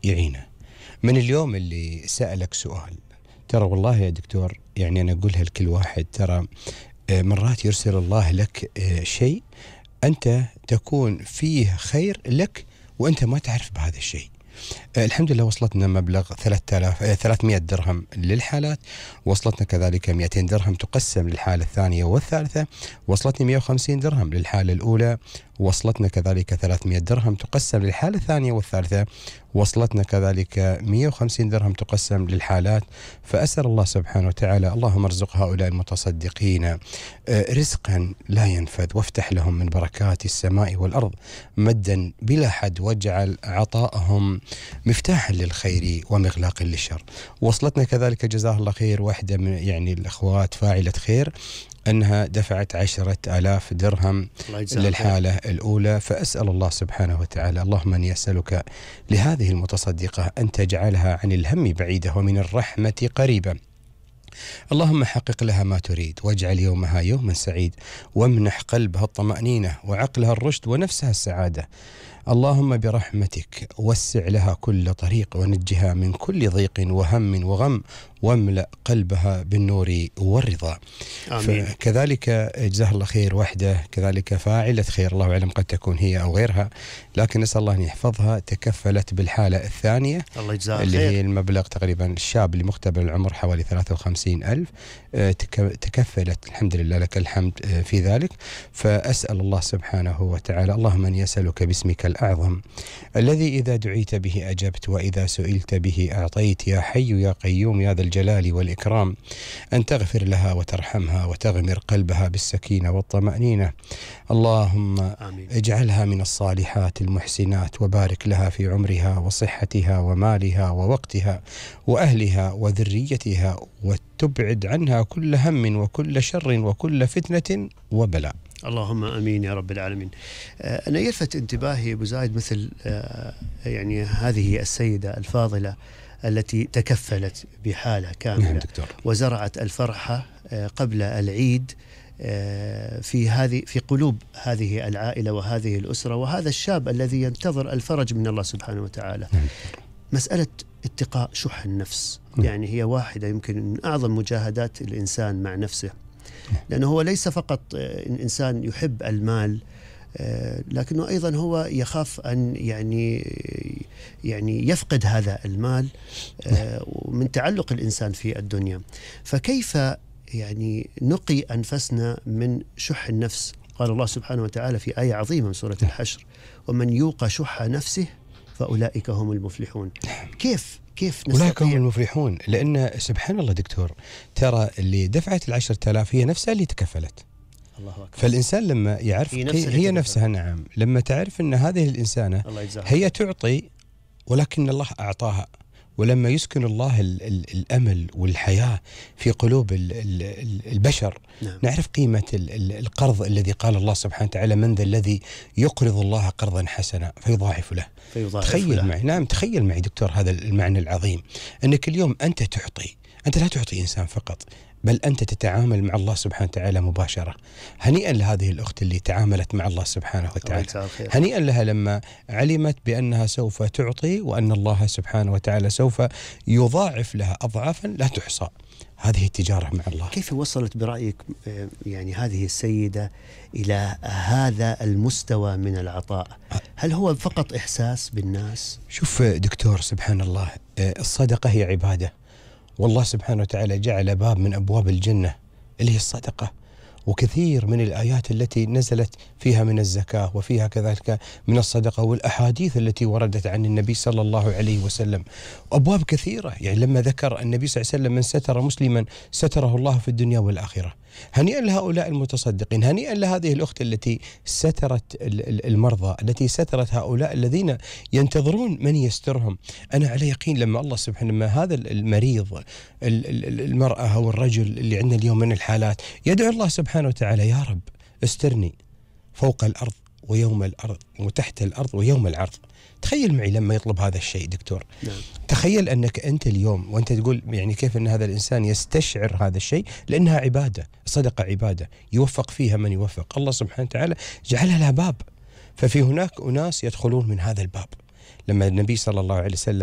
يعينه. من اليوم اللي سألك سؤال، ترى والله يا دكتور يعني أنا أقولها لكل واحد، ترى مرات يرسل الله لك شيء أنت تكون فيه خير لك وأنت ما تعرف بهذا الشيء. الحمد لله وصلتنا مبلغ 300 درهم للحالات، وصلتنا كذلك 200 درهم تقسم للحالة الثانية والثالثة، وصلتني 150 درهم للحالة الأولى، وصلتنا كذلك 300 درهم تقسم للحالة الثانية والثالثة، وصلتنا كذلك 150 درهم تقسم للحالات. فأسأل الله سبحانه وتعالى اللهم ارزق هؤلاء المتصدقين رزقا لا ينفذ، وافتح لهم من بركات السماء والأرض مدا بلا حد، واجعل عطاءهم مفتاحا للخير ومغلاقا للشر. وصلتنا كذلك جزاه الله خير واحدة من يعني الأخوات فاعلة خير أنها دفعت 10,000 درهم للحالة الأولى. فأسأل الله سبحانه وتعالى اللهم أني أسألك لهذه المتصدقة أن تجعلها عن الهم بعيدة ومن الرحمة قريبة. اللهم حقق لها ما تريد، واجعل يومها يوما سعيد، وامنح قلبها الطمأنينة وعقلها الرشد ونفسها السعادة. اللهم برحمتك وسع لها كل طريق، ونجها من كل ضيق وهم وغم، واملأ قلبها بالنور والرضا. آمين. كذلك جزاه الله خير واحدة كذلك فاعلة خير، الله أعلم قد تكون هي أو غيرها، لكن نسأل الله أن يحفظها، تكفلت بالحالة الثانية الله يجزاها اللي خير. هي المبلغ تقريبا الشاب اللي مختبر العمر حوالي 53,000، تكفلت الحمد لله لك الحمد في ذلك. فأسأل الله سبحانه وتعالى اللهم أن يسألك باسمك الأعظم الذي إذا دعيت به أجبت، وإذا سئلت به أعطيت، يا حي يا قيوم يا ذا الجلال والإكرام، أن تغفر لها وترحمها وتغمر قلبها بالسكينة والطمأنينة. اللهم آمين. اجعلها من الصالحات المحسنات، وبارك لها في عمرها وصحتها ومالها ووقتها وأهلها وذريتها، وتبعد عنها كل هم وكل شر وكل فتنة وبلاء. اللهم امين يا رب العالمين. انا يلفت انتباهي ابو زايد مثل يعني هذه السيده الفاضله التي تكفلت بحاله كامله. نعم دكتور. وزرعت الفرحه قبل العيد في قلوب هذه العائله وهذه الاسره وهذا الشاب الذي ينتظر الفرج من الله سبحانه وتعالى. نعم. مساله اتقاء شح النفس يعني هي واحده يمكن من اعظم مجاهدات الانسان مع نفسه، لأنه هو ليس فقط إنسان يحب المال، لكنه أيضا هو يخاف أن يعني يفقد هذا المال من تعلق الإنسان في الدنيا. فكيف يعني نقي أنفسنا من شح النفس؟ قال الله سبحانه وتعالى في آية عظيمة من سورة الحشر: ومن يوق شح نفسه فأولئك هم المفلحون. كيف أولئك هم المفلحون، لأن سبحان الله دكتور ترى اللي دفعت 10,000 هي نفسها اللي تكفلت. الله أكبر. فالإنسان لما يعرف هي نفسها نعم، لما تعرف أن هذه الإنسانة هي تعطي ولكن الله أعطاها، ولما يسكن الله الأمل والحياة في قلوب البشر نعم. نعرف قيمة القرض الذي قال الله سبحانه وتعالى: من ذا الذي يقرض الله قرضا حسنا فيضاعف له. تخيل معي، نعم تخيل معي دكتور هذا المعنى العظيم، أنك اليوم أنت تعطي، أنت لا تعطي إنسان فقط، بل أنت تتعامل مع الله سبحانه وتعالى مباشرة. هنيئا لهذه الأخت اللي تعاملت مع الله سبحانه وتعالى، هنيئا لها لما علمت بأنها سوف تعطي، وأن الله سبحانه وتعالى سوف يضاعف لها أضعافا لا تحصى. هذه التجارة مع الله. كيف وصلت برأيك يعني هذه السيدة إلى هذا المستوى من العطاء؟ هل هو فقط إحساس بالناس؟ شوف دكتور سبحان الله، الصدقة هي عبادة، والله سبحانه وتعالى جعل باب من أبواب الجنة اللي هي الصدقة، وكثير من الآيات التي نزلت فيها من الزكاة وفيها كذلك من الصدقة، والأحاديث التي وردت عن النبي صلى الله عليه وسلم، أبواب كثيرة. يعني لما ذكر النبي صلى الله عليه وسلم: من ستر مسلما ستره الله في الدنيا والآخرة. هنيئا لهؤلاء المتصدقين، هنيئا لهذه الأخت التي سترت المرضى، التي سترت هؤلاء الذين ينتظرون من يسترهم. أنا على يقين لما الله سبحانه، لما هذا المريض المرأة أو الرجل اللي عندنا اليوم من الحالات يدعو الله سبحانه وتعالى: يا رب استرني فوق الأرض ويوم الأرض وتحت الأرض ويوم العرض. تخيل معي لما يطلب هذا الشيء دكتور. نعم. تخيل أنك أنت اليوم وأنت تقول يعني كيف أن هذا الإنسان يستشعر هذا الشيء، لأنها عبادة، صدقة عبادة يوفق فيها من يوفق، الله سبحانه وتعالى جعلها لها باب. ففي هناك أناس يدخلون من هذا الباب. لما النبي صلى الله عليه وسلم